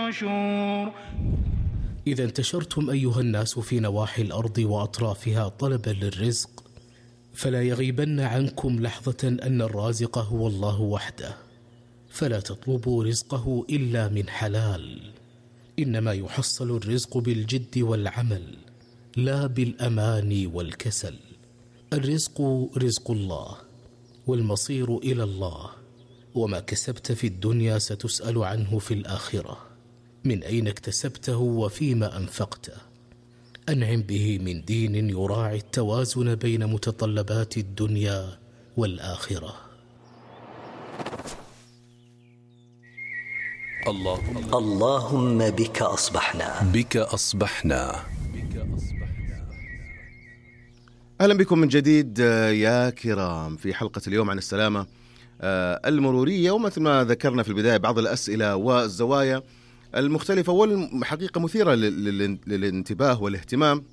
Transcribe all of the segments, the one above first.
النشور. إذا انتشرتم أيها الناس في نواحي الأرض وأطرافها طلبا للرزق، فلا يغيبن عنكم لحظة أن الرازق هو الله وحده، فلا تطلبوا رزقه إلا من حلال. إنما يحصل الرزق بالجد والعمل، لا بالأماني والكسل. الرزق رزق الله، والمصير إلى الله، وما كسبت في الدنيا ستسأل عنه في الآخرة. من أين اكتسبته وفيما أنفقته؟ أنعم به من دين يراعي التوازن بين متطلبات الدنيا والآخرة. اللهم بك أصبحنا. أهلا بكم من جديد يا كرام في حلقة اليوم عن السلامة المرورية، ومثل ما ذكرنا في البداية بعض الأسئلة والزوايا المختلفة والحقيقة مثيرة للانتباه والاهتمام،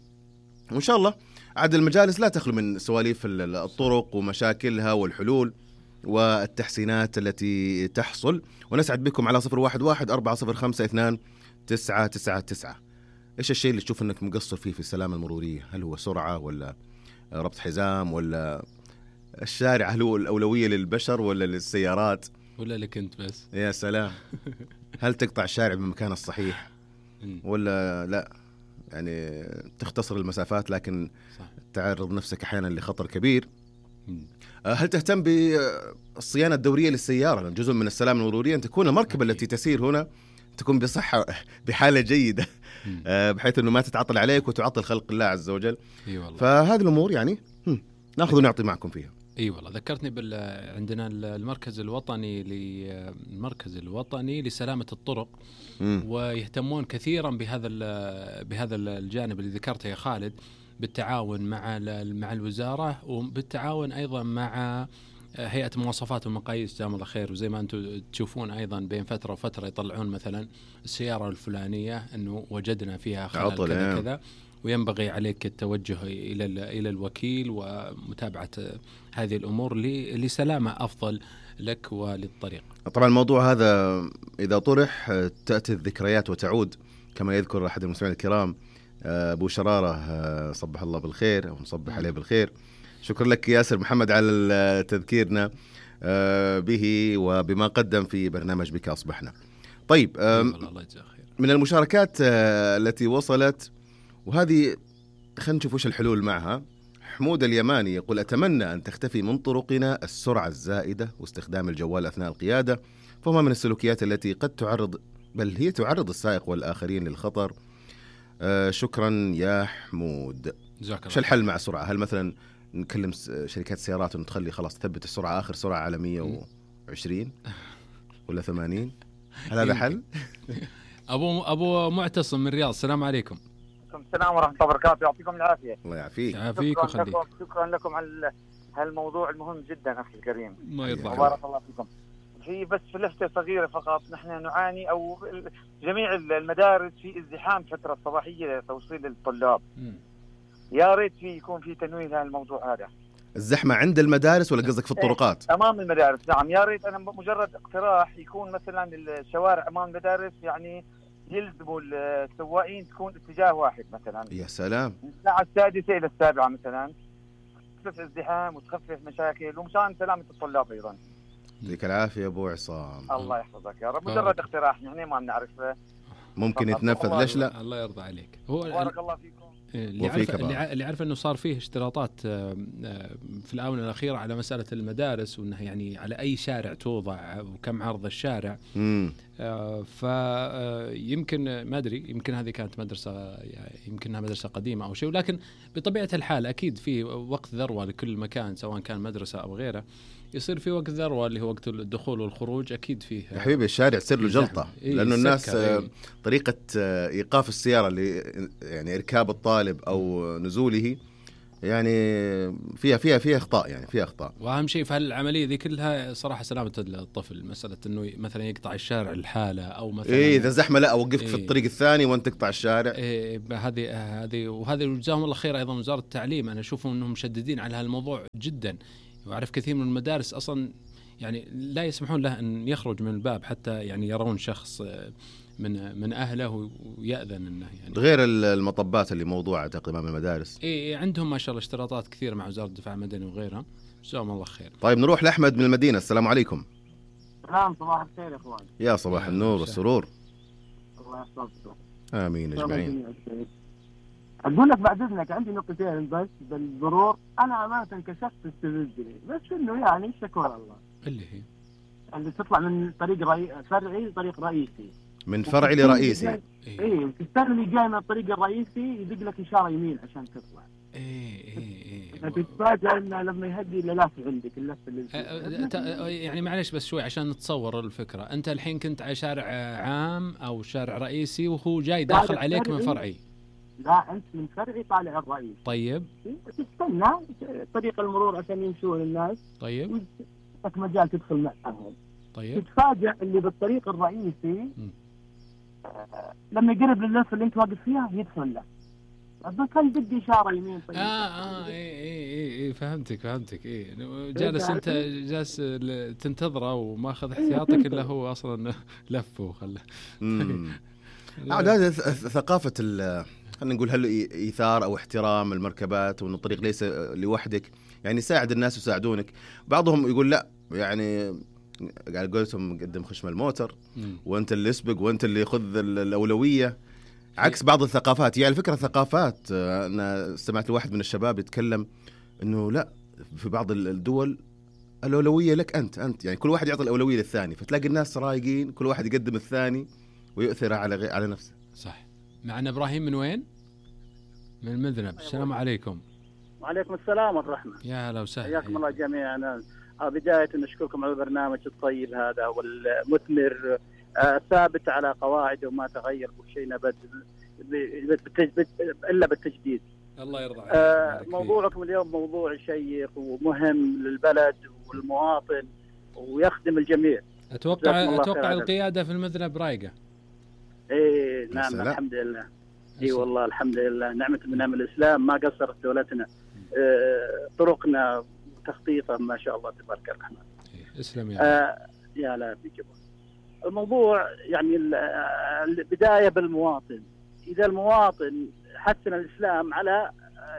وإن شاء الله عاد المجالس لا تخلو من سواليف الطرق ومشاكلها والحلول والتحسينات التي تحصل. ونسعد بكم على 011-405-2999. إيش الشيء اللي تشوف أنك مقصر فيه في السلامة المرورية؟ هل هو سرعة ولا ربط حزام ولا الشارع؟ هل هو الأولوية للبشر ولا للسيارات ولا لك أنت بس؟ يا سلام. هل تقطع الشارع بالمكان الصحيح ولا لا؟ يعني تختصر المسافات لكن صح. تعرض نفسك أحيانا لخطر كبير. هل تهتم بالصيانة الدورية للسيارة؟ جزء من السلامة المرورية أن تكون المركبة التي تسير هنا تكون بصحة بحالة جيدة، بحيث أنه ما تتعطل عليك وتعطل خلق الله عز وجل. فهذه الأمور يعني نأخذ ونعطي معكم فيها. والله ذكرتني عندنا المركز الوطني لسلامة الطرق، ويهتمون كثيرا بهذا الجانب اللي ذكرته يا خالد، بالتعاون مع الوزارة، وبالتعاون أيضا مع هيئة مواصفات ومقاييس جزاهم الله خير. وزي ما أنتم تشوفون أيضا بين فترة وفترة يطلعون مثلا السيارة الفلانية أنه وجدنا فيها خلل كذا كذا، وينبغي عليك التوجه إلى الوكيل ومتابعة هذه الأمور لسلامة أفضل لك وللطريق. طبعا الموضوع هذا إذا طرح تأتي الذكريات وتعود، كما يذكر أحد المستمعين الكرام أبو شرارة صبح الله بالخير أو نصبح عليه بالخير. شكرا لك ياسر محمد على تذكيرنا به وبما قدم في برنامج بك أصبحنا. طيب، من المشاركات التي وصلت، وهذه خلينا نشوف وش الحلول معها. حمود اليماني يقول: أتمنى أن تختفي من طرقنا السرعة الزائدة واستخدام الجوال أثناء القيادة، فهما من السلوكيات التي قد تعرض السائق والآخرين للخطر. شكرا يا حمود. شو الحل مع السرعة؟ هل مثلا نكلم شركات السيارات أن تخلي خلاص تثبت السرعة آخر سرعة على 120 ولا 80؟ هل هذا حل؟ أبو معتصم من الرياض، السلام عليكم. السلام ورحمة الله وبركاته، يعطيكم العافية. الله يعافيك. شكرا لكم على هالموضوع المهم جدا أخي الكريم. ما يرضى. بارك الله فيكم. بس لفتة صغيرة فقط، نحن نعاني أو جميع المدارس في ازدحام فترة الصباحية لتوصيل الطلاب. يا ريت يكون في تنويه لهذا الموضوع هذا. الزحمة عند المدارس ولا قصدك في الطرقات؟ أمام المدارس، نعم. يا ريت، أنا مجرد اقتراح يكون مثلا الشوارع أمام المدارس يعني يلزموا السواقين تكون اتجاه واحد مثلا. يا سلام. من الساعة 6 إلى 7 مثلا، تخفف ازدحام وتخفف مشاكل ومشان سلامة الطلاب أيضا. يعطيك العافية يا أبو عصام. الله يحفظك يا رب. مجرد اقتراح، نحن ما بنعرفه، ممكن يتنفذ. ليش لا؟ الله يرضى عليك. بارك الله فيكم. اللي عارف أنه صار فيه اشتراطات في الآونة الأخيرة على مسألة المدارس، وأنه يعني على أي شارع توضع وكم عرض الشارع. فيمكن ما أدري، يمكن هذه كانت مدرسة، يعني يمكنها مدرسة قديمة أو شيء، ولكن بطبيعة الحال أكيد في وقت ذروة لكل مكان، سواء كان مدرسة أو غيره، يصير في وقت ذروة اللي هو وقت الدخول والخروج. أكيد فيه يا حبيبي الشارع تصير له جلطة، لأنه الناس طريقة إيقاف السيارة يعني إركاب الطالب أو نزوله يعني فيها أخطاء، يعني فيها أخطاء. وأهم شيء في هالعملية ذي كلها صراحة سلامة الطفل، مسألة إنه مثلا يقطع الشارع الحالة أو مثلا إذا زحمة لا أوقفك في الطريق الثاني وأنت تقطع الشارع. هذه وهذا جزاهم الله خير أيضا وزارة التعليم، أنا أشوفهم أنهم مشددين على هالموضوع جدا. وأعرف كثير من المدارس أصلا يعني لا يسمحون له أن يخرج من الباب حتى يعني يرون شخص من اهله ويأذن انه يعني غير المطبات اللي موضوعه تقريبا من المدارس. عندهم ما شاء الله اشتراطات كثير مع وزارة الدفاع المدني وغيرها. جزاهم الله خير. طيب نروح لأحمد من المدينة. السلام عليكم. سلام، صباح الخير يا اخوان. يا صباح النور والسرور. الله يحفظكم. امين اجمعين. اقول لك بعد اذنك عندي نقطتين بس بالمرور. انا امانه كشفت استفزني بس انه يعني شكر الله اللي هي اللي تطلع من طريق فرعي لطريق رئيسي، من فرعي لرئيسي. ايه الثاني اللي جاي من الطريق الرئيسي يدق لك اشاره يمين عشان تطلع. فتتفاجئ انه لما يهدي اللف عندك اللف اللي يعني معلش بس شوي عشان نتصور الفكره. انت الحين كنت على شارع عام او شارع رئيسي وهو جاي داخل عليك من فرعي. لا انت من فرعي طالع الرئيسي. طيب تستنى طريق المرور عشان يمشون الناس. طيب لك مجال تدخل معهم. طيب تتفاجئ اللي بالطريق الرئيسي لما يقرب لللف اللي انت واقف فيها يدخل له. أبغى كان بدي إشارة يمين. طيب إيه فهمتك إيه جالس أنت جالس تنتظره وما أخذ احتياطك إلا هو أصلا لفه وخله. هذا ثقافة خلينا نقول هل إيثار أو احترام المركبات وأن الطريق ليس لوحدك، يعني ساعد الناس وساعدونك. بعضهم يقول لا يعني قال قلتهم قدم خشم الموتر وأنت اللي اسبق وأنت اللي خذ الأولوية، عكس بعض الثقافات. يعني الفكرة ثقافات. أنا سمعت واحد من الشباب يتكلم إنه لا، في بعض الدول الأولوية لك أنت يعني كل واحد يعطي الأولوية للثاني، فتلاقي الناس رايقين كل واحد يقدم الثاني ويؤثر على نفسه. صح. معنا إبراهيم من وين؟ من المذنب. السلام عليكم. وعليكم السلام والرحمة. يا هلا وسهلا. حياكم الله جميعا. بداية نشكركم على البرنامج الطيب هذا والمثمر، ثابت على قواعده وما تغير بشيء نبت إلا بالتجديد. الله يرضى عليك. موضوعكم اليوم موضوع شيق ومهم للبلد والمواطن ويخدم الجميع. أتوقع القيادة في المذنب رايقة. إيه نعم الحمد لله. إيه والله الحمد لله، نعمة من نعم الإسلام، ما قصرت دولتنا. طرقنا تخطيطا ما شاء الله تبارك الرحمن. اسلم يا لا بيجيبون. الموضوع يعني البداية بالمواطن. إذا المواطن حسن الإسلام على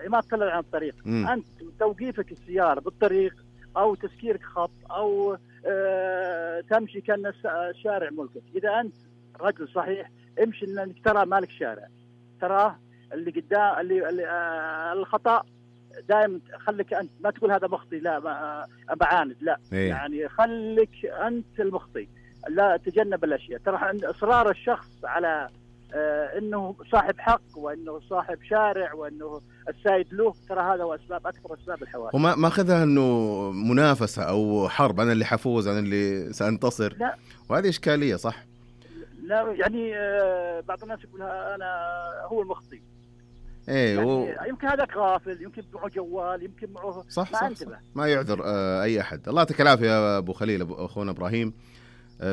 ما تطلع عن الطريق، أنت توقيفك السيارة بالطريق أو تسكيرك خط أو تمشي كأن الشارع ملكك. إذا أنت رجل صحيح امشي إنك ترى مالك شارع، تراه اللي قدام اللي الخطأ دائما خليك أنت، ما تقول هذا مخطي لا بعاند لا. يعني خليك أنت المخطي، لا تجنب الأشياء. ترى إصرار الشخص على انه صاحب حق وانه صاحب شارع وانه السائد له، ترى هذا هو اكثر اسباب الحوادث. وما اخذها انه منافسه او حرب، انا اللي حفوز انا اللي سانتصر. لا. وهذه اشكاليه صح. لا يعني بعض الناس يقولها انا هو المخطي. ايه يعني يمكن هذا غافل، يمكن معه جوال، يمكن معه صح. ما يعذر اي احد. الله يعطيك العافيه يا ابو خليل اخونا ابراهيم.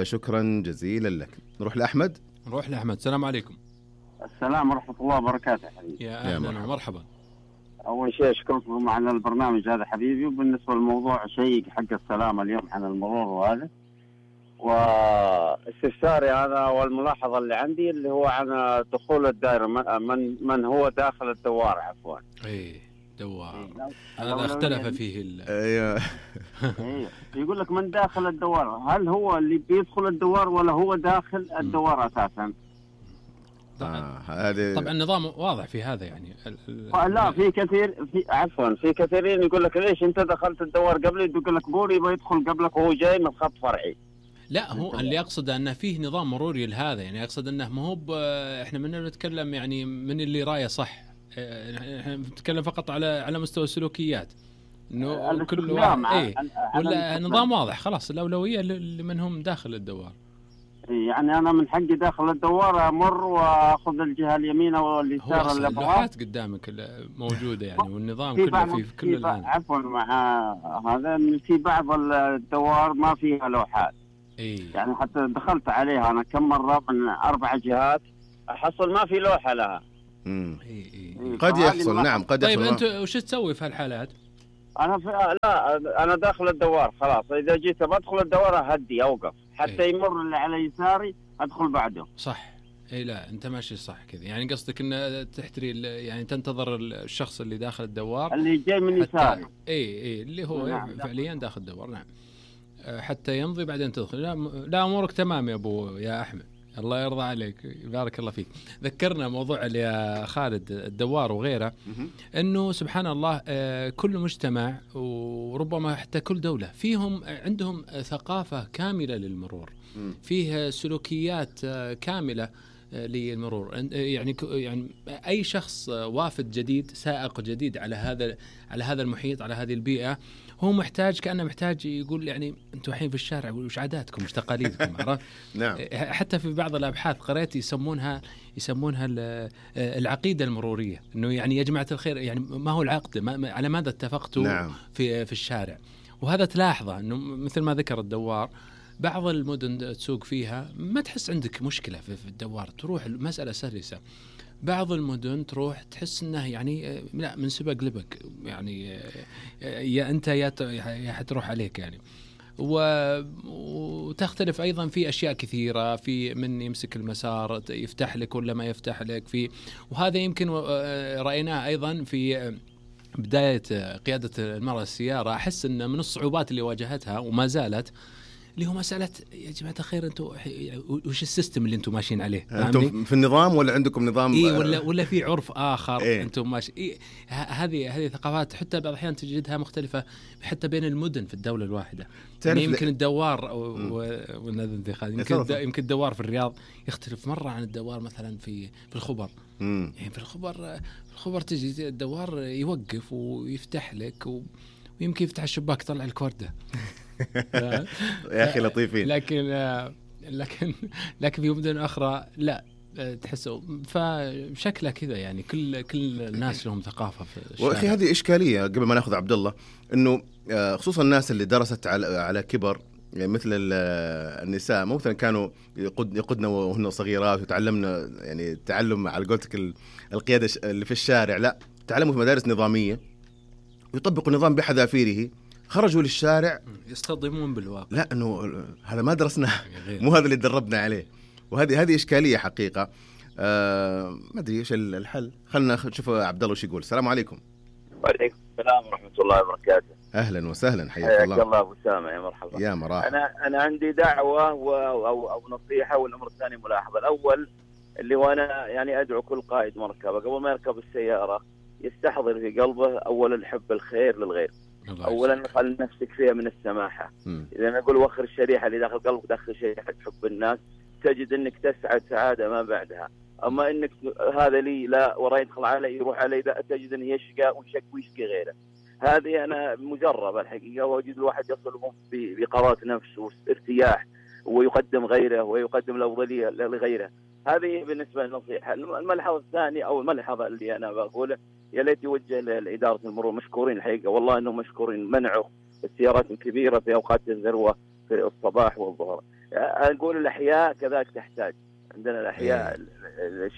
شكرا جزيلا لك. نروح لاحمد. السلام عليكم. السلام ورحمة الله وبركاته حبيبي. يا أهلا ومرحبا. أول شيء أشكركم على البرنامج هذا حبيبي. وبالنسبة للموضوع شيء حق السلامة اليوم عن المرور وهذا، واستفساري هذا والملاحظة اللي عندي اللي هو عن دخول الدائرة، من هو داخل الدوار عفوا. إيه دوار هذا اختلف فيه ايوه يقول لك من داخل الدوار، هل هو اللي بيدخل الدوار ولا هو داخل الدوار اساسا؟ طبعا النظام واضح في هذا يعني. لا في كثير في كثيرين يقول لك ليش انت دخلت الدوار قبلي، يقول لك بوري بيدخل قبلك وهو جاي من خط فرعي. لا هو اللي يقصد انه فيه نظام مروري لهذا، يعني يقصد انه ما هو احنا من نتكلم يعني من اللي رايه صح، احنا نتكلم فقط على مستوى السلوكيات، انه كل واحد ولا نظام واضح خلاص الأولوية لمن هم داخل الدوار. يعني انا من حقي داخل الدوار امر واخذ الجهه اليمين واليسار اللي اللوحات قدامك موجوده يعني، والنظام كله في كل الان. عفوا مع هذا في بعض الدوار ما فيها لوحات. يعني حتى دخلت عليها انا كم مره من 4 جهات احصل ما في لوحه لها. قد يحصل نعم قد يحصل. طيب انت وش تسوي في هالحالات؟ انا داخل الدوار خلاص، اذا جيت بدخل الدوار اهدي اوقف حتى يمر اللي على يساري ادخل بعده. صح اي لا انت ماشي صح كذا، يعني قصدك ان تحتري يعني تنتظر الشخص اللي داخل الدوار اللي جاي من يساري. اي اللي هو فعليا داخل الدوار، نعم، حتى يمضي بعدين تدخل. لا امورك تمام يا ابو يا احمد، الله يرضى عليك، بارك الله فيك. ذكرنا موضوع يا خالد الدوار وغيره، انه سبحان الله كل مجتمع وربما حتى كل دولة فيهم عندهم ثقافة كاملة للمرور، فيه سلوكيات كاملة للمرور. يعني اي شخص وافد جديد، سائق جديد على هذا المحيط، على هذه البيئة، هو محتاج، كأنه محتاج يقول يعني أنتم الحين في الشارع وش عاداتكم وش تقاليدكم، عرفت؟ نعم. حتى في بعض الأبحاث قرأت يسمونها العقيدة المرورية، إنه يعني يا جماعة الخير، يعني ما هو العقد، على ماذا اتفقتوا نعم. في الشارع. وهذا تلاحظه إنه مثل ما ذكر الدوار، بعض المدن تسوق فيها ما تحس عندك مشكلة في الدوار، تروح المسألة سلسة. بعض المدن تروح تحس انه يعني لا، من سبق لبق، يعني يا انت يا حتروح عليك يعني. وتختلف ايضا في اشياء كثيره، في من يمسك المسار يفتح لك ولا ما يفتح لك، وهذا يمكن رايناه ايضا في بدايه قياده المراه السياره. احس ان من الصعوبات اللي واجهتها وما زالت، اللي هو مسألة يا جماعة الخير أنتم وش السيستم اللي أنتم ماشيين عليه؟ أنتم في النظام ولا عندكم نظام؟ ولا في عرف آخر أنتم ماشي. هذه ثقافات حتى بعض الأحيان تجدها مختلفة حتى بين المدن في الدولة الواحدة. يعني يمكن الدوار يمكن الدوار في الرياض يختلف مرة عن الدوار مثلا في الخبر. يعني في الخبر تجي الدوار يوقف ويفتح لك ويمكن يفتح الشباك يطلع لك وردة. يا أخي لطيفين. لكن في مدن أخرى لا، تحسوا فشكله كذا، يعني كل الناس لهم ثقافة في الشارع. وأخي هذه إشكالية قبل ما نأخذ عبد الله، إنه خصوصا الناس اللي درست على كبر، يعني مثل النساء مثلا كانوا يقودنا وهن صغيرات، وتعلمنا يعني تعلم على قولتك القيادة اللي في الشارع، لا تعلموا في مدارس نظامية ويطبقوا النظام بحذافيره، خرجوا للشارع يصطدمون بالواقع. لا انه هذا ما درسناه، مو هذا اللي تدربنا عليه. وهذه اشكاليه حقيقه. ما ادري ايش الحل. خلنا نشوف عبد الله وش يقول. السلام عليكم. وعليكم السلام ورحمه الله وبركاته. اهلا وسهلا، حياك الله. حياك الله ابو سامع، يا مرحبا. يا مرحبا. انا عندي دعوه او نصيحه، والامر الثاني ملاحظه. الاول اللي وانا يعني ادعو كل قائد مركبه قبل ما يركب السياره يستحضر في قلبه اولا حب الخير للغير، اولا خل نفسك فيها من السماحه. اذا نقول وخر الشريحه اللي داخل قلبك، داخل شريحه حب الناس، تجد انك تسعد سعاده ما بعدها. اما انك هذا لي لا وراي يدخل علي يروح علي، لا، تجد انه يشقى ويشقي غيره. هذه انا مجربه الحقيقه، واجد الواحد يصل بقرارة نفس وارتياح، ويقدم غيره ويقدم الافضليه لغيره. هذه بالنسبه للنصيحه. الملحظه الثانيه او الملحظه اللي انا بقوله، يا ليت يوجه لإدارة المرور، مشكورين الحقيقة، والله إنهم مشكورين، منعوا السيارات الكبيرة في أوقات الذروة في الصباح والظهر. أقول الأحياء كذلك تحتاج، عندنا الأحياء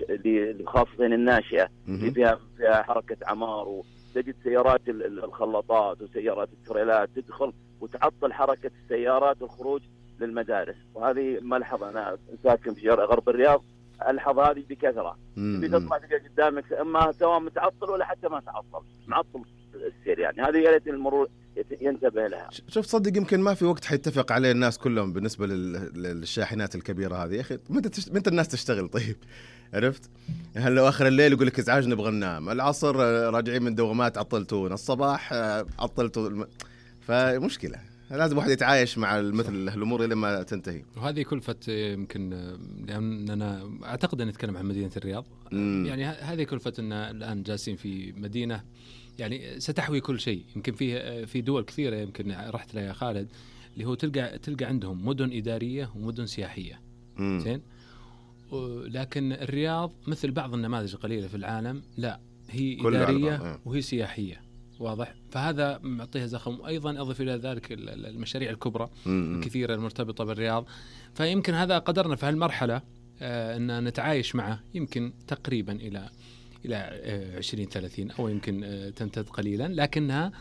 اللي خاصة الناشئة اللي فيها حركة عمار، وتجد سيارات الخلاطات وسيارات التريلات تدخل وتعطل حركة السيارات والخروج للمدارس. وهذه ملحظة، أنا ساكن في غرب الرياض، ألحظ هذه بكثرة. بتطلع تلقى قدامك اما سواء متعطل ولا حتى ما تعطل، معطل السير. يعني هذه يا ريت المرور ينتبه لها. شوف صدق يمكن ما في وقت حيتفق عليه الناس كلهم بالنسبة للشاحنات الكبيرة هذه. يا أخي متى الناس تشتغل؟ طيب عرفت؟ هل لو آخر الليل يقول لك إزعاج نبغى ننام، العصر راجعين من دوامات عطلتونا، الصباح عطلتوا، فمشكلة. لازم واحد يتعايش مع مثل الأمور إلى ما تنتهي. وهذه كلفة يمكن، لأننا أعتقد أن نتكلم عن مدينة الرياض. يعني هذه كلفة أن الآن جالسين في مدينة يعني ستحوي كل شيء. يمكن في دول كثيرة يمكن رحت لها يا خالد، اللي هو تلقى عندهم مدن إدارية ومدن سياحية. زين. لكن الرياض مثل بعض النماذج القليلة في العالم، لا هي إدارية وهي سياحية، واضح. فهذا معطيها زخم. وأيضا أضف إلى ذلك المشاريع الكبرى الكثيرة المرتبطة بالرياض. فيمكن هذا قدرنا في هالمرحلة أن نتعايش معه، يمكن تقريبا إلى 20-30 أو يمكن تمتد قليلا، لكنها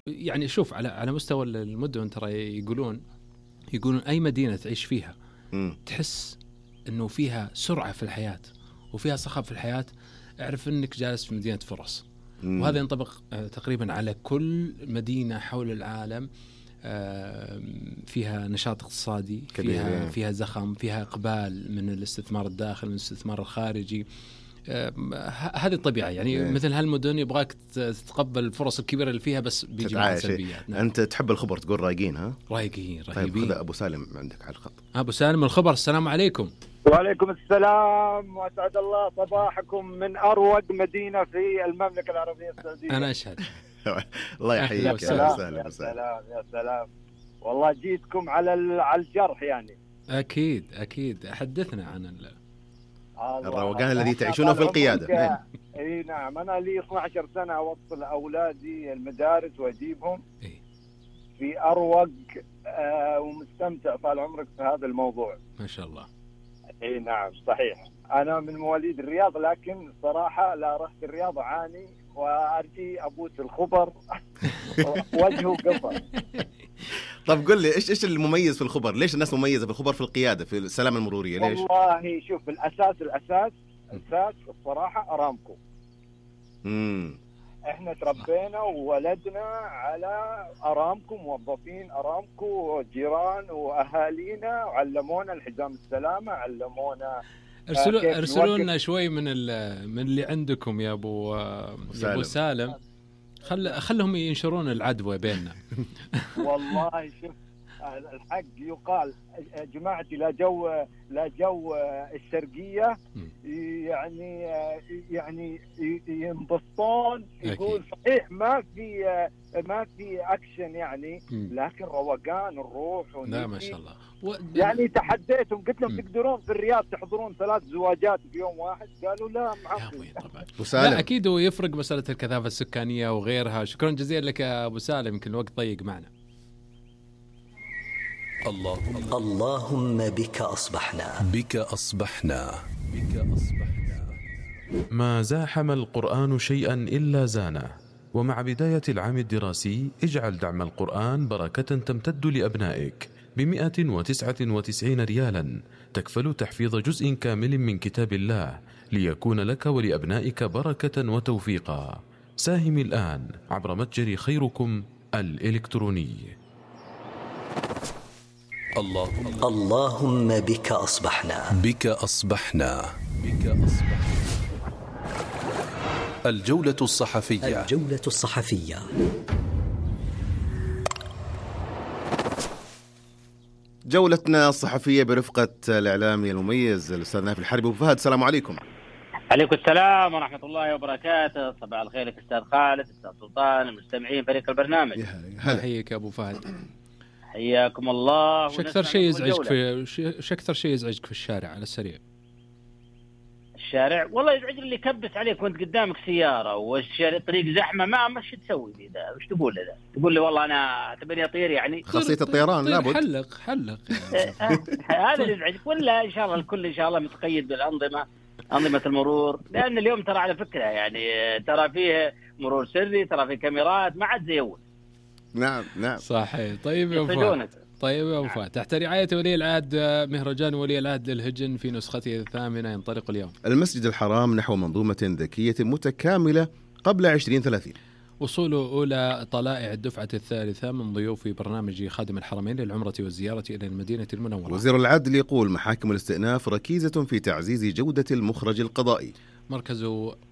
يعني شوف على مستوى المدن ترى يقولون أي مدينة تعيش فيها تحس أنه فيها سرعة في الحياة وفيها صخب في الحياة، اعرف أنك جالس في مدينة فرص. وهذا ينطبق تقريبا على كل مدينة حول العالم فيها نشاط اقتصادي، فيها زخم، فيها إقبال من الاستثمار الداخلي، من الاستثمار الخارجي. هذه الطبيعة يعني. مثل هالمدن يبغاك تتقبل الفرص الكبيرة اللي فيها، بس بيجي معها سلبيات. نعم. أنت تحب الخبر، تقول رايقين. ها رايقين. طيب خذ أبو سالم عندك على الخط. أبو سالم الخبر. السلام عليكم. وعليكم السلام، وأسعد الله صباحكم من أروق مدينة في المملكة العربية السعودية. أنا أشهد. الله يحييك. يا سلام. والله جيتكم على الجرح يعني. أكيد حدثنا عن الروقان الذي تعيشونه في القيادة. اي نعم، انا لي 12 سنة اوصل اولادي المدارس واجيبهم في اروق ومستمتع طال عمرك في هذا الموضوع ما شاء الله. اي نعم صحيح. انا من مواليد الرياض، لكن صراحة لا رحت الرياض اعاني وارجي ابوس الخبر وجهه قصر. طب قل لي ايش المميز في الخبر؟ ليش الناس مميزة في الخبر في القيادة في السلامة المرورية؟ ليش؟ والله شوف، الاساس الصراحة ارامكو. احنا تربينا وولدنا على ارامكو، موظفين ارامكو، جيران واهالينا، علمونا الحزام السلامة، علمونا. ارسلوا لنا شوي من اللي عندكم يا ابو سالم. خلهم ينشرون العدوى بيننا. والله شوف، الحق يقال جماعتي لا جو الشرقية يعني ينبسطون. يقول صحيح ما في أكشن يعني، لكن روقان الروح. لا ما شاء الله. يعني تحديتهم، قلت لهم تقدرون في الرياض تحضرون 3 زواجات في يوم واحد؟ قالوا لا معقول. لا أكيد ويفرق مسألة الكثافة السكانية وغيرها. شكرا جزيلا لك يا أبو سالم، يمكن الوقت ضيق معنا. اللهم بك أصبحنا. ما زاحم القرآن شيئا إلا زانه. ومع بداية العام الدراسي اجعل دعم القرآن بركة تمتد لأبنائك ب199 ريالا، تكفل تحفيظ جزء كامل من كتاب الله ليكون لك ولأبنائك بركة وتوفيقا. ساهم الآن عبر متجر خيركم الإلكتروني. اللهم بك أصبحنا. الجولة الصحفية. جولتنا الصحفية برفقة الإعلامي المميز الأستاذ نايف الحربي. أبو فهد، السلام عليكم. عليكم السلام ورحمة الله وبركاته. صباح الخير لك أستاذ خالد، أستاذ سلطان، المستمعين، فريق البرنامج. حياك يا أبو فهد. حياكم الله. شو أكثر شيء يزعجك في الشارع على السريع؟ الشارع والله يزعجني اللي يكبس عليك وانت قدامك سيارة والشارع طريق زحمة، ما شو تسوي لي ذا؟ وش تقول لي ذا؟ تقول لي والله أنا اعتبرني أطير يعني؟ خاصية الطيران لابد. حلق هذا اللي يزعجك، ولا إن شاء الله الكل إن شاء الله متقيد أنظمة المرور؟ لأن اليوم ترى على فكرة يعني ترى فيه مرور سري، ترى فيه كاميرات، ما عاد زي أول. نعم صحيح. طيب يا أبو فهد، تحت رعاية ولي العهد مهرجان ولي العهد للهجن في نسخته 8 ينطلق اليوم. المسجد الحرام نحو منظومة ذكية متكاملة قبل 2030. وصول أولى طلائع الدفعة الثالثة من ضيوف برنامج خادم الحرمين للعمرة والزيارة إلى المدينة المنورة. وزير العدل يقول محاكم الاستئناف ركيزة في تعزيز جودة المخرج القضائي. مركز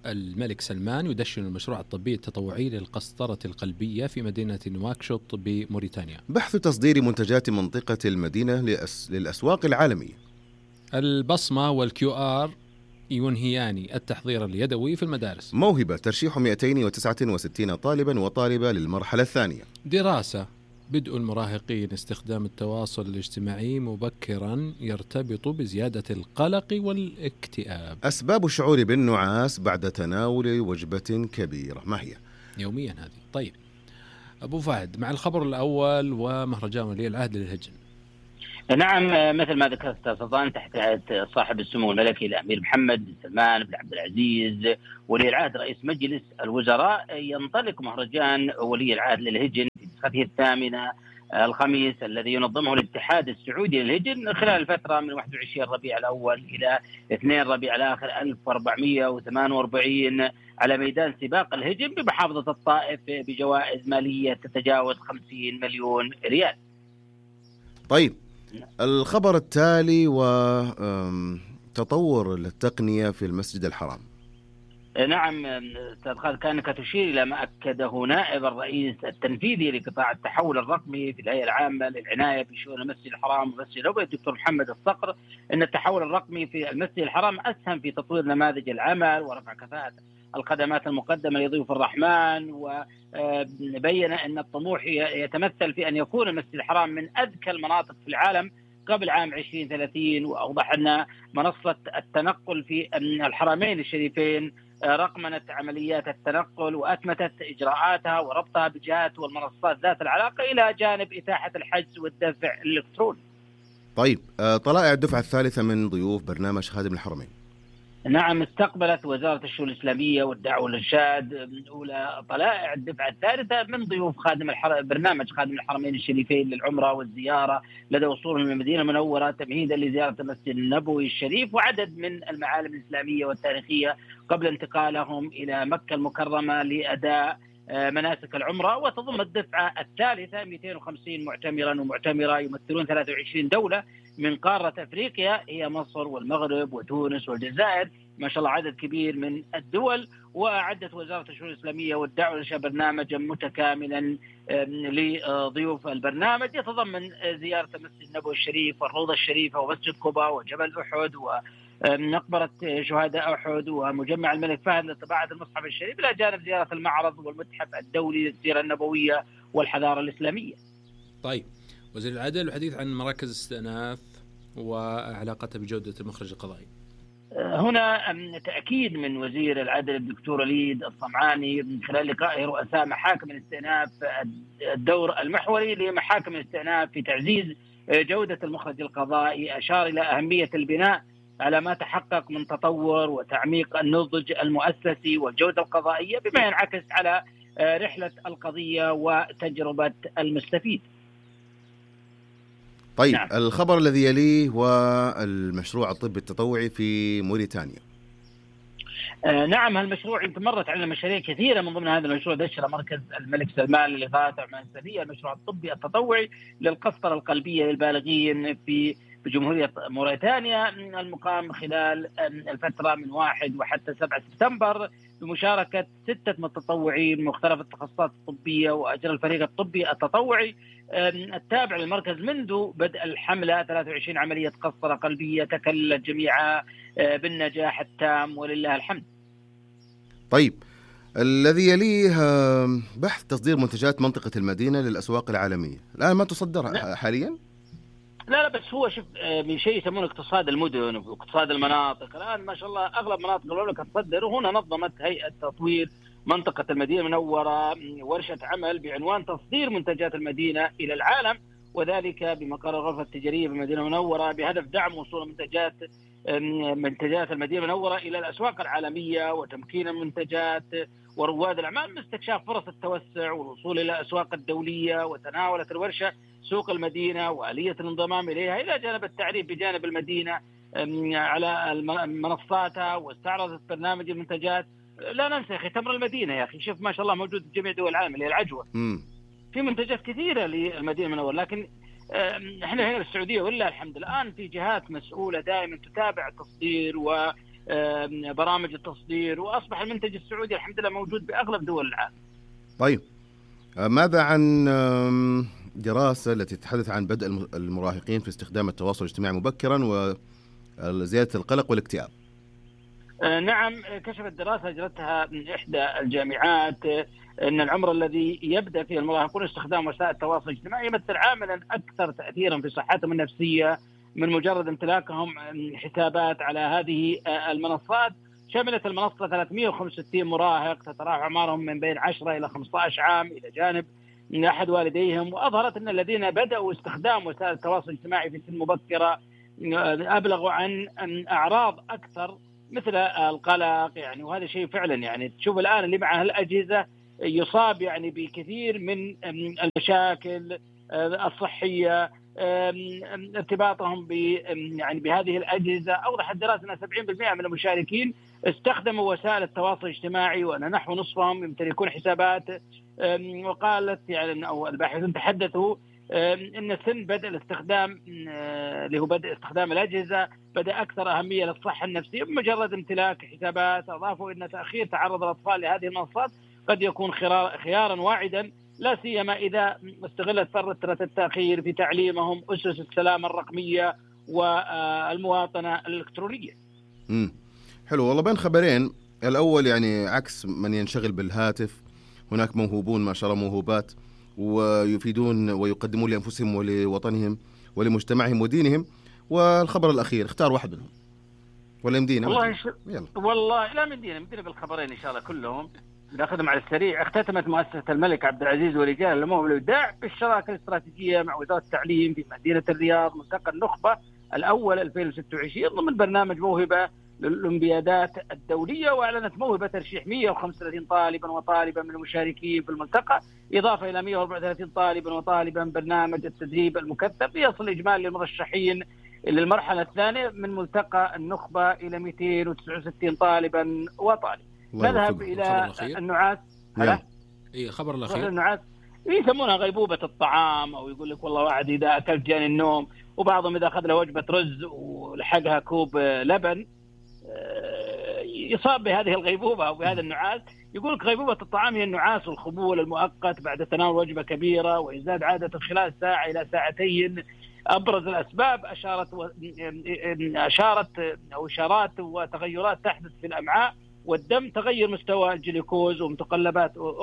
الملك سلمان يدشن المشروع الطبي التطوعي للقسطرة القلبية في مدينة نواكشوط بموريتانيا. بحث تصدير منتجات منطقة المدينة للأسواق العالمية. البصمة والQR ينهيان التحضير اليدوي في المدارس. موهبة ترشيح 269 طالبا وطالبة للمرحلة الثانية. دراسة بدء المراهقين استخدام التواصل الاجتماعي مبكرا يرتبط بزيادة القلق والاكتئاب. أسباب الشعور بالنعاس بعد تناول وجبة كبيرة ما هي؟ يوميا هذه. طيب أبو فهد، مع الخبر الأول ومهرجان ولي العهد للهجن. نعم، مثل ما ذكرت سلطان، تحت صاحب السمو الملكي الأمير محمد بن سلمان بن عبد العزيز ولي العهد رئيس مجلس الوزراء، ينطلق مهرجان ولي العهد للهجن في نسخته 8 الخميس الذي ينظمه الاتحاد السعودي للهجن خلال الفترة من 21 ربيع الأول إلى 2 ربيع الآخر 1448 على ميدان سباق الهجن بمحافظة الطائف بجوائز مالية تتجاوز 50 مليون ريال. طيب الخبر التالي وتطور التقنية في المسجد الحرام. نعم أستاذ خالد، كانك تشير إلى ما أكده نائب الرئيس التنفيذي لقطاع التحول الرقمي في الهيئة العامة للعناية بشؤون المسجد الحرام ومسجد النبوي الدكتور محمد الصقر، أن التحول الرقمي في المسجد الحرام أسهم في تطوير نماذج العمل ورفع كفاءة الخدمات المقدمة لضيوف الرحمن، وبين أن الطموح يتمثل في أن يكون المسجد الحرام من أذكى المناطق في العالم قبل عام 2030. وأوضح أن منصة التنقل في الحرمين الشريفين رقمنت عمليات التنقل وأتمتت إجراءاتها وربطها بجهات والمنصات ذات العلاقة إلى جانب إتاحة الحجز والدفع الإلكتروني. طيب طلائع الدفعة الثالثة من ضيوف برنامج خادم الحرمين. نعم، استقبلت وزارة الشؤون الإسلامية والدعوة والإرشاد أولى طلائع الدفعة الثالثة من ضيوف برنامج خادم الحرمين الشريفين للعمرة والزيارة لدى وصولهم من المدينة المنورة تمهيدا لزيارة المسجد النبوي الشريف وعدد من المعالم الإسلامية والتاريخية قبل انتقالهم إلى مكة المكرمة لأداء مناسك العمرة. وتضم الدفعة الثالثة 250 معتمرا ومعتمرة يمثلون 23 دولة من قارة أفريقيا هي مصر والمغرب وتونس والجزائر، ما شاء الله عدد كبير من الدول. وأعدت وزارة الشؤون الإسلامية والدعوة والإرشاد برنامجا متكاملا لضيوف البرنامج يتضمن زيارة المسجد النبوي الشريف والروضة الشريفة ومسجد قباء وجبل أحد ومقبرة شهداء أحد ومجمع الملك فهد لطباعة المصحف الشريف، إلى جانب زيارة المعرض والمتحف الدولي للسيرة النبوية والحضارة الإسلامية. طيب وزير العدل والحديث عن مراكز استئناف وعلاقتها بجودة المخرج القضائي. هنا تأكيد من وزير العدل الدكتور وليد الصمعاني من خلال لقائه رؤساء محاكم الاستئناف الدور المحوري لمحاكم الاستئناف في تعزيز جودة المخرج القضائي، أشار إلى أهمية البناء على ما تحقق من تطور وتعميق النضج المؤسسي والجودة القضائية بما ينعكس على رحلة القضية وتجربة المستفيد. طيب نعم. الخبر الذي يليه والمشروع الطبي التطوعي في موريتانيا. نعم، هالمشروع يمكن مرت على مشاريع كثيرة من ضمن هذا المشروع دشر مركز الملك سلمان للإغاثة والعناية الإنسانية المشروع الطبي التطوعي للقسطرة القلبية للبالغين في جمهورية موريتانيا المقام خلال الفترة من 1 وحتى 7 سبتمبر بمشاركة 6 متطوعين من مختلف التخصصات الطبية. وأجرى الفريق الطبي التطوعي التابع للمركز منذ بدء الحملة 23 عملية قسطرة قلبية تكللت جميعها بالنجاح التام ولله الحمد. طيب الذي يليه بحث تصدير منتجات منطقة المدينة للأسواق العالمية، الآن ما تصدر حاليا؟ لا بس هو شوف من شيء يسمونه اقتصاد المدن واقتصاد المناطق. الآن ما شاء الله أغلب مناطق المملكة تصدر، وهنا نظمت هيئة تطوير منطقة المدينة المنورة ورشة عمل بعنوان تصدير منتجات المدينة إلى العالم، وذلك بمقر الغرفة التجارية بالمدينة المنورة بهدف دعم وصول منتجات المدينة المنورة إلى الأسواق العالمية وتمكين المنتجات ورواد الأعمال من استكشاف فرص التوسع والوصول إلى الأسواق الدولية. وتناولت الورشة سوق المدينة وآلية الانضمام إليها إلى جانب التعريف بجانب المدينة على منصاتها، واستعرضت برنامج المنتجات. لا ننسى يا أخي تمر المدينة، يا أخي شوف ما شاء الله موجود في جميع دول العالم اللي هي العجوة. في منتجات كثيرة للمدينة المنورة، لكن احنا هنا السعودية ولله الحمد الآن في جهات مسؤولة دائما تتابع التصدير وبرامج التصدير، وأصبح المنتج السعودي الحمد لله موجود بأغلب دول العالم. طيب ماذا عن دراسة التي تتحدث عن بدء المراهقين في استخدام التواصل الاجتماعي مبكرا وزيادة القلق والاكتئاب؟ نعم، كشفت دراسة أجرتها إحدى الجامعات أن العمر الذي يبدأ فيه المراهقون استخدام وسائل التواصل الاجتماعي يمثل عاملا أكثر تأثيرا في صحتهم النفسية من مجرد امتلاكهم حسابات على هذه المنصات. شملت المنصة 365 مراهق تتراوح أعمارهم من بين 10 إلى 15 عام إلى جانب أحد والديهم، وأظهرت أن الذين بدأوا استخدام وسائل التواصل الاجتماعي في سن مبكرة أبلغوا عن أعراض أكثر مثل القلق، يعني وهذا شيء فعلا يعني تشوف الآن اللي معه الأجهزة يصاب يعني بكثير من المشاكل الصحية، ارتباطهم يعني بهذه الأجهزة. أوضحت الدراسة أن 70% من المشاركين استخدموا وسائل التواصل الاجتماعي، وأن نحو نصفهم يمتلكون حسابات. وقالت يعني أو الباحثون تحدثوا إن سن بدء الاستخدام اللي هو بدء استخدام الأجهزة بدأ أكثر أهمية للصحة النفسية بمجرد امتلاك حسابات. أضافوا إن تأخير تعرض الأطفال لهذه المنصات قد يكون خيارا واعدا، لا سيما إذا استغلت فترة التأخير في تعليمهم أسس السلامة الرقمية والمواطنة الإلكترونية. حلو والله. بين خبرين، الأول يعني عكس من ينشغل بالهاتف، هناك موهوبون ما شاء الله موهوبات ويفيدون ويقدمون لأنفسهم ولوطنهم ولمجتمعهم ودينهم. والخبر الأخير اختار واحد منهم ولا يمدينا؟ والله لا مدينا بالخبرين إن شاء الله كلهم ناخذهم على السريع. اختتمت مؤسسة الملك عبد العزيز ورجال النمو والإبداع بالشراكة الاستراتيجية مع وزارة التعليم في مدينة الرياض ملتقى النخبة الأول 2026 ضمن برنامج موهبة للأولمبيادات الدولية، وأعلنت موهبة ترشيح 135 طالبا وطالبا من المشاركين في الملتقى، إضافة إلى 134 طالبا وطالبا برنامج التدريب المكثف، ليصل إجمالي المرشحين للمرحلة الثانية من ملتقى النخبة إلى 269 طالبا وطالب. نذهب إلى النعاس. خبر الأخير النعاس يسمونها غيبوبة الطعام، أو يقول لك والله واحد إذا أكل جاني النوم، وبعضهم إذا أخذ له وجبة رز ولحقها كوب لبن يصاب بهذه الغيبوبة أو بهذا النعاس. يقول لك غيبوبة الطعام هي النعاس والخمول المؤقت بعد تناول وجبة كبيرة، ويزداد عادة خلال ساعة إلى ساعتين. أبرز الأسباب إشارات وتغيرات تحدث في الأمعاء والدم، تغير مستوى الجلوكوز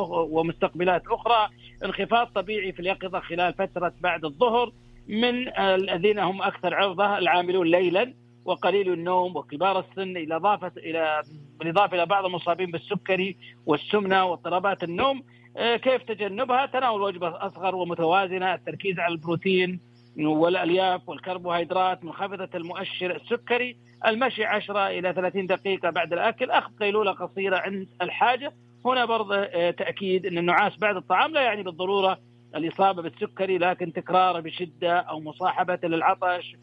ومستقبلات أخرى، انخفاض طبيعي في اليقظة خلال فترة بعد الظهر. من الذين هم أكثر عرضة العاملون ليلا وقليل النوم وكبار السن، بالإضافة إلى بعض المصابين بالسكري والسمنة واضطرابات النوم. كيف تجنبها؟ تناول وجبة أصغر ومتوازنة، التركيز على البروتين والألياف والكربوهيدرات منخفضة المؤشر السكري، المشي 10 إلى 30 دقيقة بعد الأكل، أخذ قيلولة قصيرة عند الحاجة. هنا برضه تأكيد أن النعاس بعد الطعام لا يعني بالضرورة الإصابة بالسكري، لكن تكراره بشدة أو مصاحبة للعطش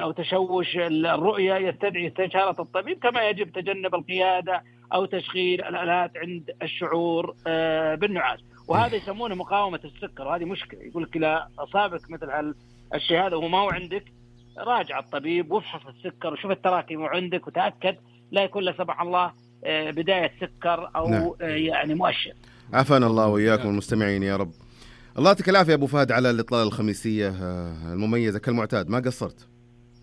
أو تشوش الرؤية يستدعي استشارة الطبيب، كما يجب تجنب القيادة أو تشغيل الآلات عند الشعور بالنعاس. وهذا يسمونه مقاومة السكر، وهذه مشكلة. يقول لك إذا أصابك مثل الشيء هذا وما هو عندك، راجع الطبيب وافحص السكر وشوف التراكم عندك وتأكد لا يكون لا سمح الله بداية سكر أو يعني مؤشر. عافانا الله وإياكم المستمعين يا رب. الله يعطيك العافية أبو فهد على الإطلالة الخميسية المميزة كالمعتاد، ما قصرت.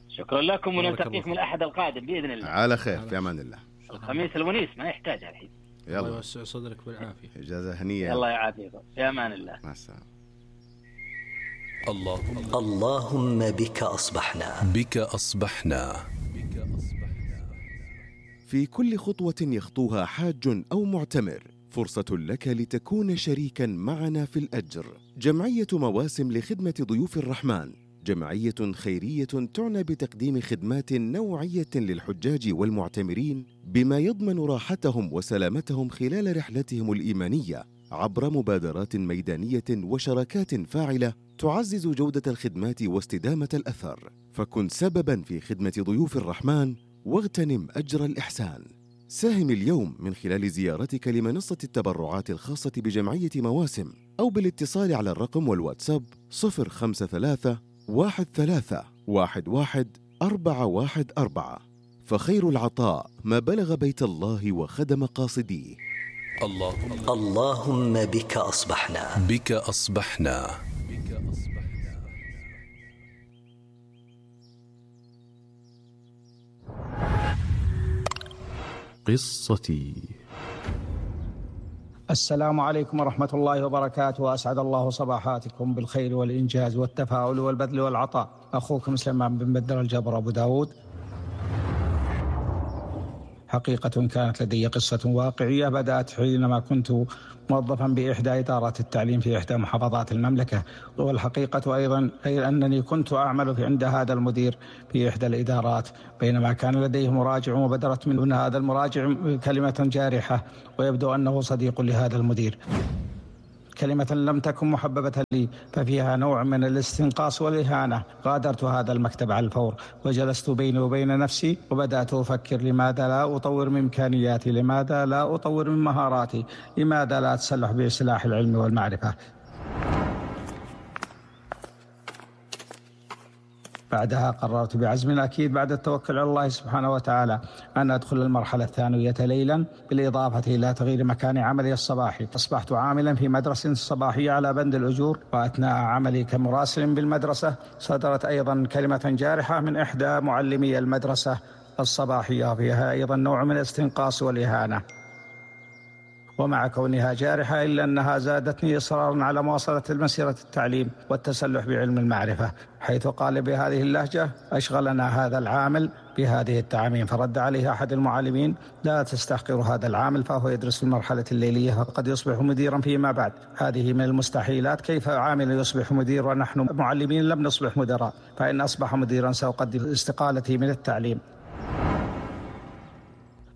شكرا لكم، ونلتقيكم الأحد القادم بإذن الله على خير في أمان الله. الخميس الونيس ما يحتاجها الحين. الله يوسع صدرك بالعافية. إجازة هنية. الله يعافيكم في أمان الله. مع السلامة. اللهم بك أصبحنا. في كل خطوة يخطوها حاج أو معتمر فرصة لك لتكون شريكا معنا في الأجر. جمعية مواسم لخدمة ضيوف الرحمن جمعية خيرية تعنى بتقديم خدمات نوعية للحجاج والمعتمرين بما يضمن راحتهم وسلامتهم خلال رحلتهم الإيمانية عبر مبادرات ميدانية وشراكات فاعلة تعزز جودة الخدمات واستدامة الأثر. فكن سبباً في خدمة ضيوف الرحمن واغتنم أجر الإحسان. ساهم اليوم من خلال زيارتك لمنصة التبرعات الخاصة بجمعية مواسم أو بالاتصال على الرقم والواتساب 053 13 11 414. فخير العطاء ما بلغ بيت الله وخدم قاصديه. اللهم بك أصبحنا. قصتي. السلام عليكم ورحمة الله وبركاته، وأسعد الله صباحاتكم بالخير والإنجاز والتفاؤل والبذل والعطاء. أخوكم سليمان بن بدر الجبر أبو داود. حقيقة كانت لدي قصة واقعية بدأت حينما كنت موظفا بإحدى إدارات التعليم في إحدى محافظات المملكة، والحقيقة أيضا أنني كنت أعمل عند هذا المدير في إحدى الإدارات، بينما كان لديه مراجع وبدرت من هذا المراجع كلمة جارحة ويبدو أنه صديق لهذا المدير. كلمة لم تكن محببة لي ففيها نوع من الاستنقاص والإهانة. غادرت هذا المكتب على الفور وجلست بيني وبين نفسي وبدأت أفكر: لماذا لا أطور من إمكانياتي؟ لماذا لا أطور من مهاراتي؟ لماذا لا أتسلح بسلاح العلم والمعرفة؟ بعدها قررت بعزم أكيد بعد التوكل على الله سبحانه وتعالى أن أدخل المرحلة الثانوية ليلا، بالإضافة إلى تغيير مكان عملي الصباحي. أصبحت عاملا في مدرسة صباحية على بند الأجور، وأثناء عملي كمراسل بالمدرسة صدرت أيضا كلمة جارحة من إحدى معلمي المدرسة الصباحية، فيها أيضا نوع من الاستنقاص والإهانة. ومع كونها جارحة إلا أنها زادتني إصرارا على مواصلة مسيرة التعليم والتسلح بعلم المعرفة، حيث قال بهذه اللهجة: أشغلنا هذا العامل بهذه التعامين. فرد عليه أحد المعلمين: لا تستحقر هذا العامل، فهو يدرس في المرحلة الليلية فقد يصبح مديرا فيما بعد. هذه من المستحيلات، كيف عامل يصبح مدير ونحن معلمين لم نصبح مدراء؟ فإن أصبح مديرا سأقدم استقالتي من التعليم.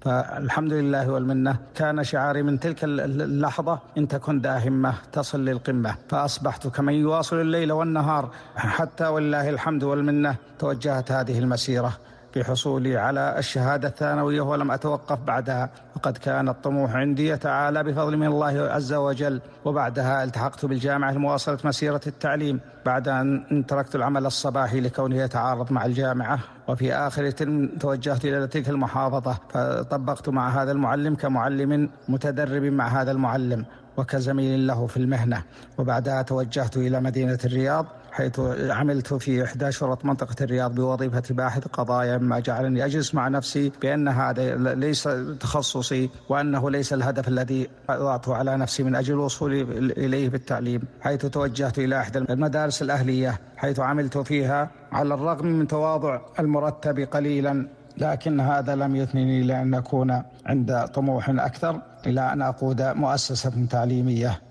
فالحمد لله والمنة كان شعاري من تلك اللحظة: إن تكن ذا همة تصل للقمة. فأصبحت كمن يواصل الليل والنهار، حتى والله الحمد والمنة توجهت هذه المسيرة بحصولي على الشهادة الثانوية ولم أتوقف بعدها، وقد كان الطموح عندي يتعالى بفضل من الله عز وجل. وبعدها التحقت بالجامعة لمواصلة مسيرة التعليم بعد أن تركت العمل الصباحي لكونه يتعارض مع الجامعة. وفي آخر ترم توجهت إلى تلك المحافظة، فطبقت مع هذا المعلم كمعلم متدرب مع هذا المعلم وكزميل له في المهنة. وبعدها توجهت إلى مدينة الرياض، حيث عملت في إحدى شرط منطقة الرياض بوظيفة باحث قضايا، مما جعلني أجلس مع نفسي بأن هذا ليس تخصصي وأنه ليس الهدف الذي وضعته على نفسي من أجل الوصول إليه بالتعليم. حيث توجهت إلى إحدى المدارس الأهلية، حيث عملت فيها على الرغم من تواضع المرتب قليلا، لكن هذا لم يثنني لأن أكون عند طموح أكثر إلى أن أقود مؤسسة تعليمية.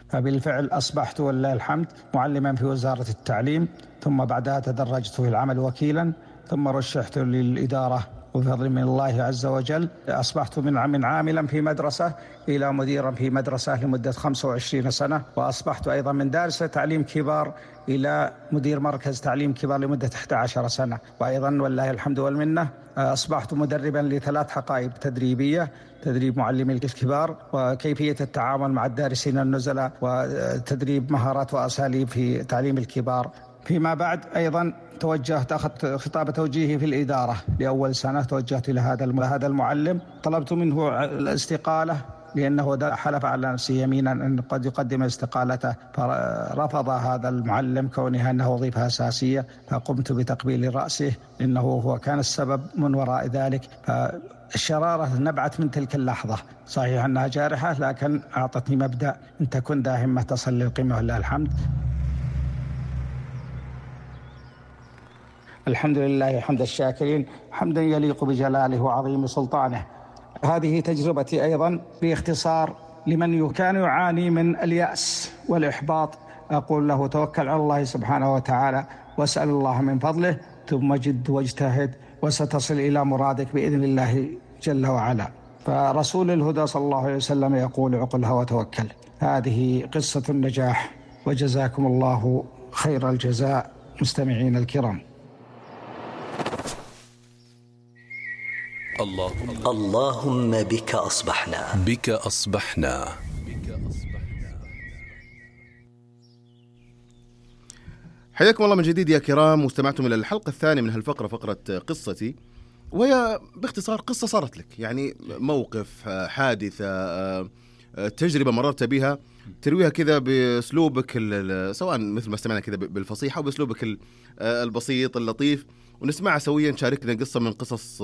فبالفعل أصبحت ولله الحمد معلما في وزارة التعليم، ثم بعدها تدرجت في العمل وكيلا، ثم رشحت للإدارة وبفضل من الله عز وجل أصبحت من عاملا في مدرسة إلى مديرا في مدرسة لمدة 25 سنة، وأصبحت أيضا من دارس تعليم كبار إلى مدير مركز تعليم كبار لمدة 11 سنة. وأيضا والله الحمد والمنة أصبحت مدربا ل3 حقائب تدريبية: تدريب معلمي الكبار، وكيفية التعامل مع الدارسين النزلاء، وتدريب مهارات وأساليب في تعليم الكبار. فيما بعد أيضا توجهت، أخذت خطاب توجيهي في الإدارة لأول سنة، توجهت إلى هذا المعلم، طلبت منه الاستقالة لأنه حلف على نفسه يمينا أن قد يقدم استقالته، فرفض هذا المعلم كونها أنه وظيفة أساسية، فقمت بتقبيل رأسه إنه هو كان السبب من وراء ذلك. فالشرارة نبعت من تلك اللحظة، صحيح أنها جارحة لكن أعطتني مبدأ: إن تكن ذا همة تصل للقمة ولله الحمد. الحمد لله حمد الشاكرين، حمدا يليق بجلاله وعظيم سلطانه. هذه تجربتي أيضا باختصار لمن كان يعاني من اليأس والإحباط. أقول له: توكل على الله سبحانه وتعالى واسأل الله من فضله، ثم جد واجتهد وستصل إلى مرادك بإذن الله جل وعلا. فرسول الهدى صلى الله عليه وسلم يقول: عقلها وتوكل. هذه قصة النجاح، وجزاكم الله خير الجزاء مستمعين الكرام. اللهم بك أصبحنا. حياكم الله من جديد يا كرام، واستمعتم إلى الحلقة الثانية من هالفقرة، فقرة قصتي، وهي باختصار قصة صارت لك، يعني موقف، حادثة، تجربة مررت بها، ترويها كذا بأسلوبك سواء مثل ما استمعنا كذا بالفصيحة أو بأسلوبك البسيط اللطيف، ونسمعها سويا. شاركنا قصة من قصص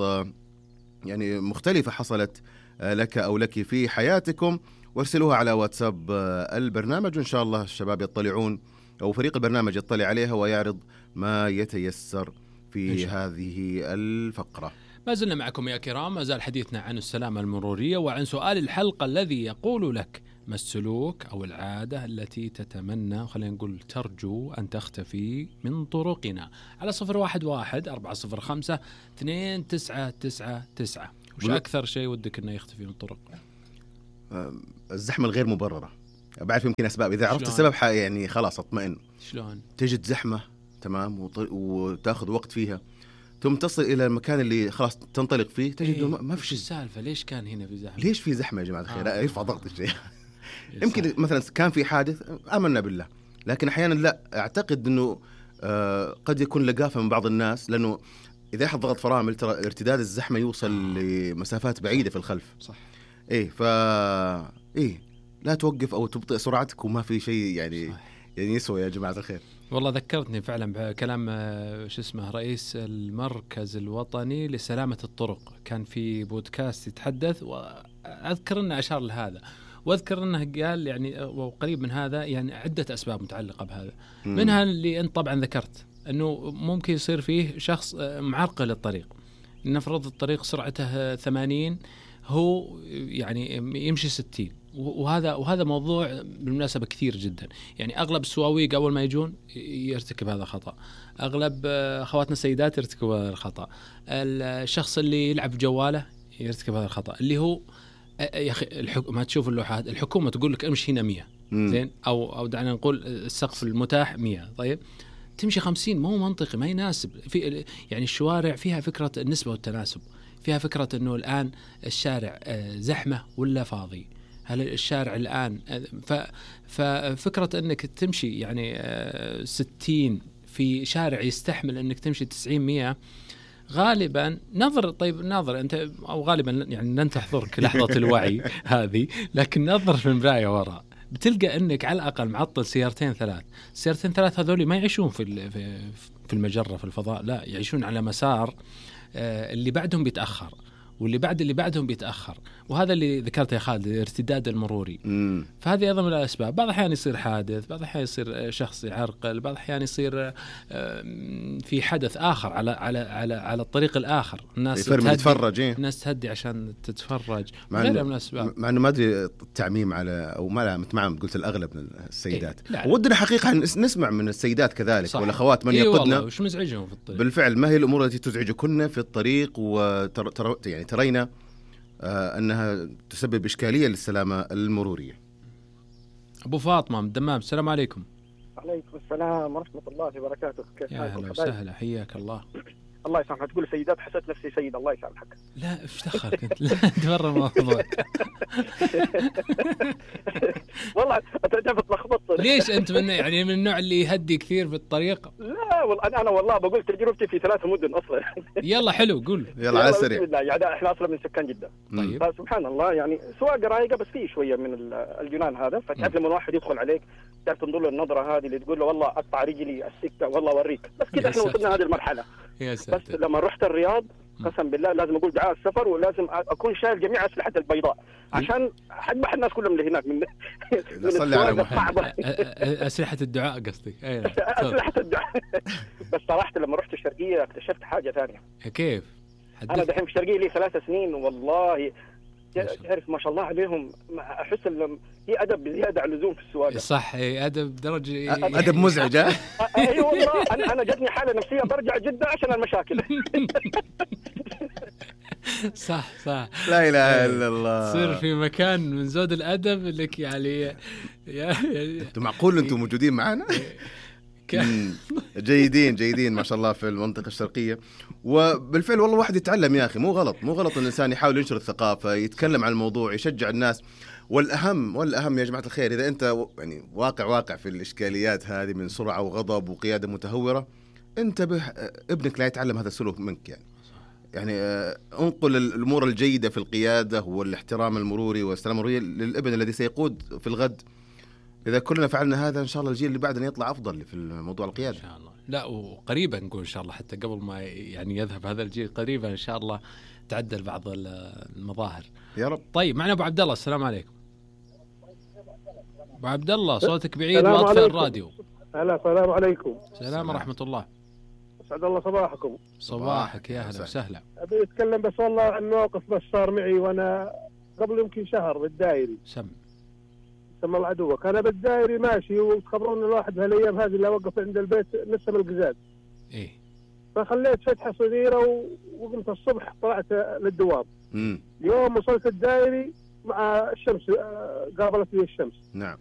يعني مختلفة حصلت لك أو لك في حياتكم، وارسلوها على واتساب البرنامج، وإن شاء الله الشباب يطلعون أو فريق البرنامج يطلع عليها ويعرض ما يتيسر في هذه الفقرة. ما زلنا معكم يا كرام، ما زال حديثنا عن السلامة المرورية وعن سؤال الحلقة الذي يقول لك: ما السلوك أو العادة التي تتمنى، خلينا نقول ترجو أن تختفي من طرقنا؟ على 011-405-2999. وش أكثر شيء ودك أنه يختفي من الطرق؟ الزحمة الغير مبررة. بعرف يمكن أسباب، إذا عرفت السبب يعني خلاص أطمئن. شلون؟ تجد زحمة تمام وتأخذ وقت فيها، ثم تصل إلى المكان اللي خلاص تنطلق فيه تجد ما في شيء. السالفة ليش كان هنا في زحمة؟ ليش في زحمة يا جماعة الخير؟ يرفع ضغط الشيء. يمكن مثلا كان في حادث آمنا بالله، لكن أحيانا لا، أعتقد أنه قد يكون لقافة من بعض الناس، لأنه إذا أحد ضغط فرامل ترى ارتداد الزحمة يوصل لمسافات بعيدة في الخلف. صح. لا توقف أو تبطئ سرعتك وما في شيء يعني يسوى يا جماعة الخير. والله ذكرتني فعلا بكلام رئيس المركز الوطني لسلامة الطرق، كان في بودكاست يتحدث، وأذكر أنه أشار لهذا، واذكر انه قال يعني وقريب من هذا يعني عدة اسباب متعلقة بهذا. منها اللي انت طبعا ذكرت انه ممكن يصير فيه شخص معرقل الطريق، نفرض الطريق سرعته 80 هو يعني يمشي 60، وهذا موضوع بالمناسبة كثير جدا. يعني اغلب السواويق اول ما يجون يرتكب هذا الخطأ، اغلب اخواتنا السيدات يرتكبوا هذا الخطأ، الشخص اللي يلعب بجواله يرتكب هذا الخطأ، اللي هو يا أخي ما تشوف اللوحات، الحكومة تقول لك امشي هنا 100 زين، أو دعنا نقول السقف المتاح 100، طيب تمشي 50 ما هو منطقي، ما يناسب. في يعني الشوارع فيها فكرة النسبة والتناسب، فيها فكرة أنه الآن الشارع زحمة ولا فاضي، هل الشارع الآن ففكرة أنك تمشي يعني 60 في شارع يستحمل أنك تمشي 90-100 غالبا نظر أنت، أو غالبا يعني لن تحضرك لحظة الوعي هذه، لكن نظر في المراية وراء بتلقى أنك على الأقل معطل سيارتين ثلاث هذول ما يعيشون في المجرة في الفضاء، لا يعيشون على مسار اللي بعدهم بيتأخر، واللي بعد اللي بعدهم بيتأخر، وهذا اللي ذكرته يا خالد، الارتداد المروري. فهذه أيضا من الأسباب. بعض الأحيان يصير حادث، بعض الأحيان يصير شخص يعرقل، بعض الأحيان يصير في حدث آخر على الطريق الآخر، الناس تتفرج، الناس تهدي عشان تتفرج، غيرها من الأسباب. مع إنه ما أدري التعميم على أو ما متمعن، قلت الأغلب من السيدات، ودنا حقيقة نسمع من السيدات كذلك والأخوات من يقودنا وش مزعجهم في الطريق. بالفعل ما هي الأمور التي تزعجكن في الطريق يعني ترينا أنها تسبب إشكالية للسلامة المرورية. أبو فاطمة من الدمام، السلام عليكم. عليكم السلام ورحمة الله وبركاته. كيف حالك؟ أهلا وسهلا، حياك الله. الله يسامحك، تقول سيدات حسيت نفسي سيد، الله يسامحك. لا ايش دخلك انت؟ لا انت برا الموضوع. والله انت بتلخبط. ليش انت من النوع اللي يهدي كثير في الطريق؟ لا والله انا والله بقول تجربتي في 3 مدن اصلا. يلا حلو، قول. يلا على السريع. يعني احنا اصلا من سكان جدة. طيب. سبحان الله، يعني سواقة رايقة بس فيه شوية من الجنان هذا، فتعرف لما واحد يدخل عليك تعرف تنظر له النظرة هذه اللي تقول له والله اقطع رجلي السكة والله اوريك، بس كذا احنا وصلنا هذه المرحلة. بس لما رحت الرياض قسم بالله لازم اقول دعاء السفر، ولازم اكون شايل جميع اسلحه البيضاء عشان اذبح الناس كلهم اللي هناك من السواقه الصعبه. اسلحه الدعاء قصدي. اسلحه الدعاء. بس صراحه لما رحت الشرقيه اكتشفت حاجه ثانيه. كيف؟ انا دحين في الشرقيه لي 3 سنين، والله تعرف ما شاء الله عليهم، احس في ادب زياده عن اللزوم في السواقه. صح، ادب درجه ادب مزعج. اي والله انا جتني حاله نفسيه برجع جده عشان المشاكل. صح لا اله الا الله. تصير في مكان من زود الادب لك يعني انتم معقول انتم موجودين معنا؟ جيدين ما شاء الله في المنطقة الشرقية. وبالفعل والله واحد يتعلم يا أخي، مو غلط الإنسان يحاول ينشر الثقافة، يتكلم عن الموضوع، يشجع الناس. والأهم يا جماعة الخير، إذا أنت يعني واقع في الإشكاليات هذه من سرعة وغضب وقيادة متهورة، انتبه ابنك لا يتعلم هذا السلوك منك. يعني انقل الأمور الجيدة في القيادة والاحترام المروري والسلام المروري للابن الذي سيقود في الغد. إذا كلنا فعلنا هذا إن شاء الله الجيل اللي بعدنا يطلع أفضل في الموضوع القيادة إن شاء الله. لا وقريبا نقول إن شاء الله، حتى قبل ما يعني يذهب هذا الجيل قريبا إن شاء الله تعدل بعض المظاهر يا رب. طيب معنا أبو عبد الله، السلام عليكم. أبو عبد الله صوتك بعيد واطفئ الراديو. هلا، السلام عليكم. السلام ورحمة الله. أسعد الله صباحكم. صباحك يا أهلا وسهلا. أبي أتكلم بس والله عن موقف بس صار معي وأنا قبل يمكن شهر بالدائري. سمى العدوة. أنا بالدائري ماشي وتخبرون الواحد بهالأيام هذه اللي وقف عند البيت نسم القزاز. إيه. فخليت فتحة صغيرة وقمت الصبح طلعت للدوام. اليوم وصلت الدائري مع الشمس، قابلت لي الشمس. نعم.